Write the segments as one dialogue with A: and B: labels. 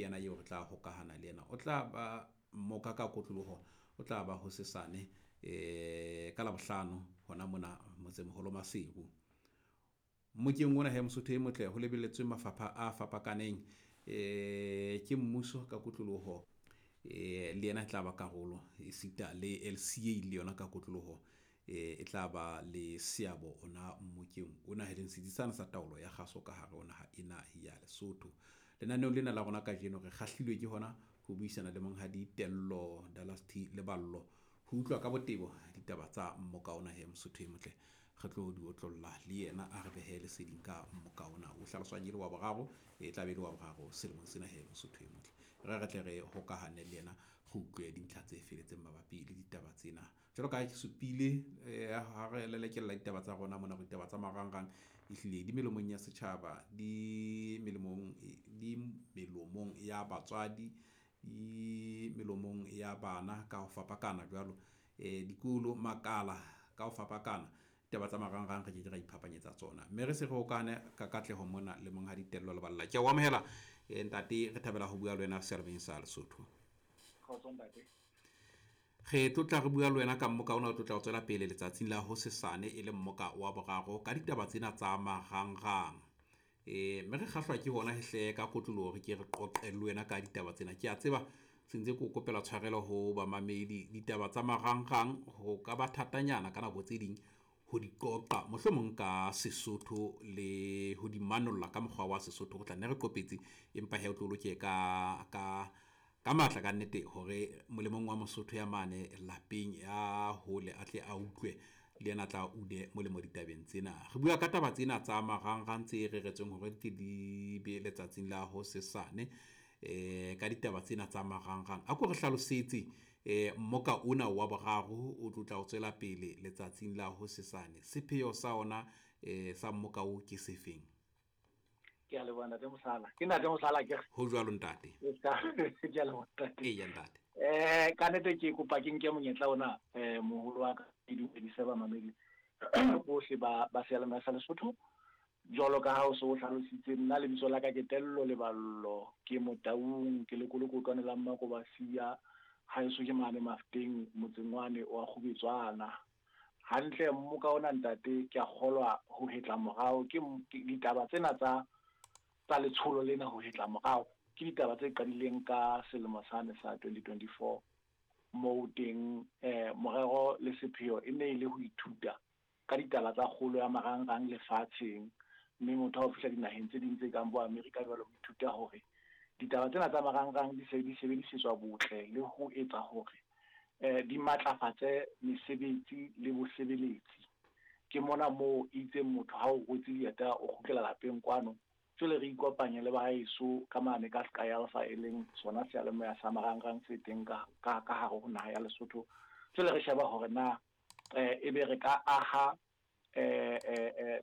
A: Ke yena eo re tla hokahana le yena. O tla ba mmoka ka kotloloho, o tla ba hosesane ka Labohlano hona mona motsemoholo Maseru. Mmokeng ona he Mosotho e motle ho lebelletswe mafapha a fapakaneng, ke mmuso ka kotloloho, le yena e tla ba karolo esita le LCA le yona ka kotloloho, e tla ba le seabo ona mmokeng ona, e leng setsi sane sa taolo ya kgaso ka hare ho naha ena ya Lesotho. Lenaneong lena la rona kajeno re kgahlilwe ke hona ho buisana le Monghadi Tello Dallas T Leballo ho utlwa ka botebo ditaba tsa mmoka ona he Mosotho e motle. Re tlo di otlolla le yena a re behe leseding ka mmoka ona o hlaloswang e le wa boraro, e tla be e le wa boraro selemong sena he Mosotho e motle. Re re tle re hokahane le yena re utlwe dintlha tse feletseng mabapi le ditaba tsena. Jwalo ka ha ke supile, ha re lelekella ditaba tsa rona mona, ditaba tsa marangrang ehlile di melomong ya setjhaba, di melomong ya batswadi, di melomong ya bana ka ho fapakana jwalo, dikolo, makala ka ho fapakana. Ditaba tsa marangrang re ke ke ra iphapanyetsa tsona, mme re se re hokahane ka katleho mona le Monghadi Tello Leballa. Ke a o amohela, ntate, re thabela ho bua le wena seyalemoyeng sa Lesotho.
B: Kgotso ntate.
A: Re tlotla re bua le wena ka mmoka ona o tlotla o tswela pele letsatsing la hosesane e le mmoka wa boraro ka ditaba tsena tsa marangrang. Mme re kgahlwa ke hona hle ka kotloloho re ke re qoqe le wena ka ditaba tsena. Ke a tseba sentse ke o kopela tshwarelo ho bamamedi, ditaba tsa marangrang ho ka ba thatanyana ka nako tse ding ho di qoqa mohlomong ka Sesotho le ho di manolla ka mokgwa wa Sesotho. Re tla nne re qopetse, empa he o tlo loke ka ka matla ka nnete hore molemong wa Mosotho ya mane lapeng ya hole a tle a utlwe le yena tla une molemo ditabeng tsena. Re bua ka taba tsena tsa marangrang tse reretsweng hore di di be letsatsing la hosesane, ka ditaba tsena tsa marangrang. A ko re hlalosetse, mmoka ona wa boraro o tlo tla o tswela pele letsatsing la hosesane. Sepheo sa ona, sa mmoka o ke sefeng?
B: Ke a leboha ntate Mosala. Ke ntate Mosala ke re.
A: Ho jwalo ntate.
B: Ke a leboha ntate.
A: Eya ntate.
B: Ka nnete ke kopa ke nke monyetla ona, moholo wa ka, ke dumedise bamamedi bohle ba seyalemoya sa Lesotho. Jwalo ka ha o so o hlalositse, nna lebitso la ka ke Tello Leballo, ke Motaung, ke lekolokotwane la Mmakobasia, haeso ke mane Mafteng, motseng wane wa Kgubetswana. Hantle mmoka ona ntate, ke a kgolwa ho hetla morao ke ditaba tsena tsa letsholo lena ho hetla morao. Ke ditaba tse qadileng ka selemo sane sa 2024, moo teng morero le sepheo e ne e le ho ithuta ka ditaba tsa kgolo ya marangrang lefatsheng, mme motho ha o fihla dinaheng tse ding tse kang bo Amerika jwalo, ho ithuta hore ditaba tsena tsa marangrang di se di sebedisetswa botle le ho etsa hore di matlafatse mesebetsi le bosebeletsi. Ke mona moo itseng motho ha o rwetse dieta o kgutlela lapeng kwano, jwale re ikopanye le bahaeso ka mane ka Sky Alpha, e leng sona seyalemoya sa marangrang se teng ka hare ho naha ya Lesotho. Jwale re sheba hore na ebe re ka aha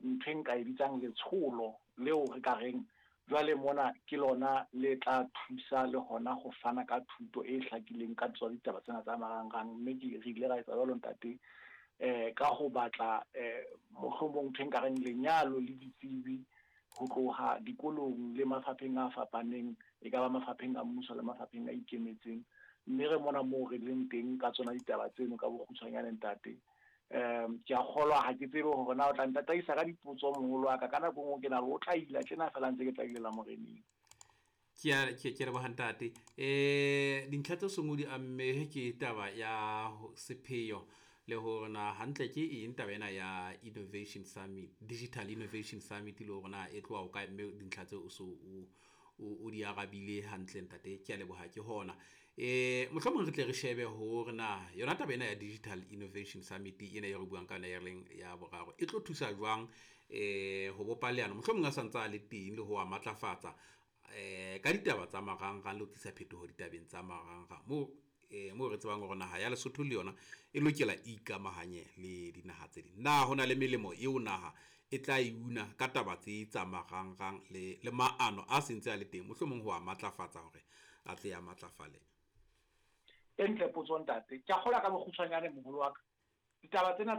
B: ntho e nka e bitsang letsholo leo re ka reng jwale mona ke lona le tla thusa le hona ho fana ka thuto e hlakileng ka tsona ditaba tsena tsa marangrang. Mme ke re ile ra etsa jwalo ntate, ka ho batla mohlomong ntho e nka reng lenyalo le ditsebi ho tloha dikolong le mafapheng a fapaneng, e ka ba mafapheng a mmuso le mafapheng a ikemetseng. Mme re mona moo re leng teng ka tsona ditaba tseno ka bokgutshwanyane ntate. Ke a kgolwa, ha ke tsebe hore na o tla ntataisa ka dipotso moholo wa ka, ka nako e nngwe ke na le o tla ila tjena feela ntse ke tla ilela moreneng.
A: Ke leboha ntate. Dintlha tse seng o di amme ke taba ya sepheo le hore na hantle ke eng taba ena ya Innovation Summit, Digital Innovation Summit, le hore na e tloha ho kae, mme dintlha tseo o so o di arabile hantle ntate. Ke a leboha ke hona. Mohlomong re tle re shebe hore na yona taba ena ya Digital Innovation Summit ena e re buang ka yona e leng ya boraro e tlo thusa jwang, ho bopa leano mohlomong a santsa a le teng le ho a matlafatsa, ka ditaba tsa marangrang le ho tlisa phetoho ditabeng tsa marangrang moo, moo re tsebang hore naha ya Lesotho le yona e lokela e ikamahanye le dinaha tse ding. Na ho na le melemo eo naha e tla e una ka taba tse tsa marangrang le maano a sentse a le teng, mohlomong ho a matlafatsa hore a tle a matlafale?
B: E ntle potso ntate. Ke a kgolwa ka bokgutshwanyane moholo wa ka. Ditaba tsena